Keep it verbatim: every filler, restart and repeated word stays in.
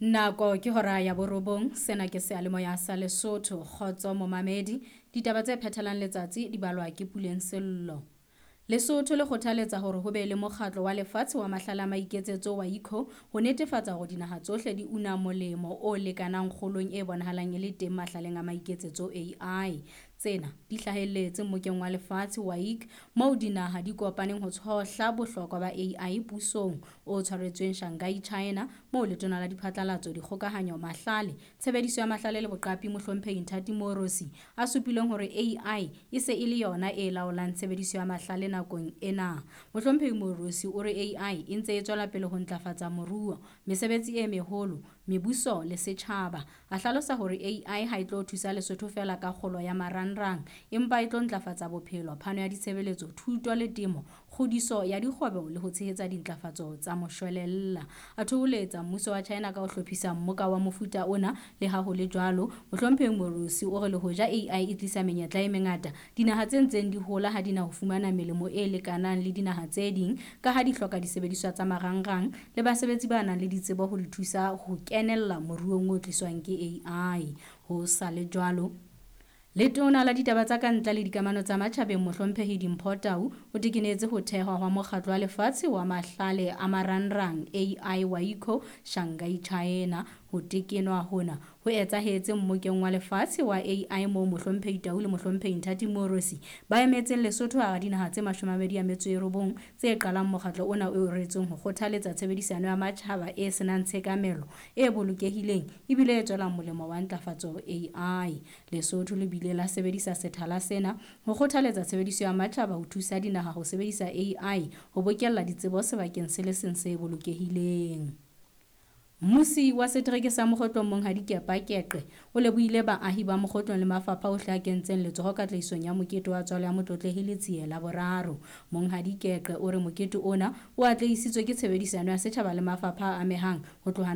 Nako ke hora ya borobong, sena ke seyalemoya sa Lesotho. Kgotso momamedi, ditaba tse phethelang letsatsi di balwa ke Puleng Sello. Lesotho le kgothaletsa hore ho be le mokgatlo wa lefatshe wa mahlale a maiketsetso wa I C O ho netefatsa hore dinaha tsohle di una molemo o lekanang kgolong e bonahalang e le teng mahlaleng a maiketsetso A I. Tsena di hlahelletse mmokeng wa lefatshe wa I C moo dinaha di kopaneng ho tshohla bohlokwa ba A I pusong o tshwaretsweng Shanghai, China, moo letona la diphatlalatso, dikgokahanyo, mahlale, tshebediso ya mahlale le boqapi mohlomphehi Nthati Moorosi a supileng hore A I e se e le yona e laolang tshebediso ya mahlale nakong ena. Mohlomphehi Moorosi o re A I e ntse e tswela pele ho ntlafatsa moruo, mesebetsi e meholo, mebuso le setjhaba. A hlalosa hore A I ha e tlo thusa Lesotho feela ka kgolo ya marangrang, empa e tlo ntlafatsa bophelo, phano ya ditshebeletso, thuto le temo, kgodiso ya dikgwebo le ho tshehetsa dintlafatso tsa moshwelella. A thoholetsa mmuso wa China ka ho hlophisa mmoka wa mofuta ona. Le ha ho le jwalo, mohlomphehi Moorosi o re le hoja A I e tlisa menyetla e mengata, dinaha tse ntseng di hola ha di na ho fumana melemo e lekanang le dinaha tse ding ka ha di hloka disebediswa tsa marangrang le basebetsi ba nang le ditsebo ho di thusa ho kenella moruong o tliswang ke A I. Ho sa le jwalo, Letona la ditaba tsa ka ntle le dikamano tsa matjhabeng mohlomphehi Dimpho Tau o tekenetse ho thehwa hwa mokgatlo wa lefatshe wa mahlale a marangrang A I wa I C O Shanghai, China. Ho tekenwa hona ho etsahetse mmokeng wa lefatshe wa A I moo mohlomphehi Tau le mohlomphehi Nthati Moorosi ba emetseng Lesotho hara dinaha tse mashome a mabedi a metso e robong tse qalang mokgatlo ona o reretsweng ho kgothaletsa tshebedisano ya matjhaba e senang tshekamelo, e bolokehileng ebile e tswelang molemo wa ntlafatso A I. Lesotho le bile la sebedisa sethala sena ho kgothaletsa tshebediso ya matjhaba ho thusa dinaha ho sebedisa A I ho bokella ditsebo sebakeng se le seng se bolokehileng. Mmusi wa setereke sa Mokgotlong Monghadi Kepa Keqe o lebohile baahi ba Mokgotlong le mafapha ohle a kentseng letsoho katlehisong ya mokete wa tswalo ya Motlotlehile Letsie la boraro. Monghadi Keqe o re mokete ona o atlehisitswe ke tshebedisano ya setjhaba le mafapha a amehang ho tloha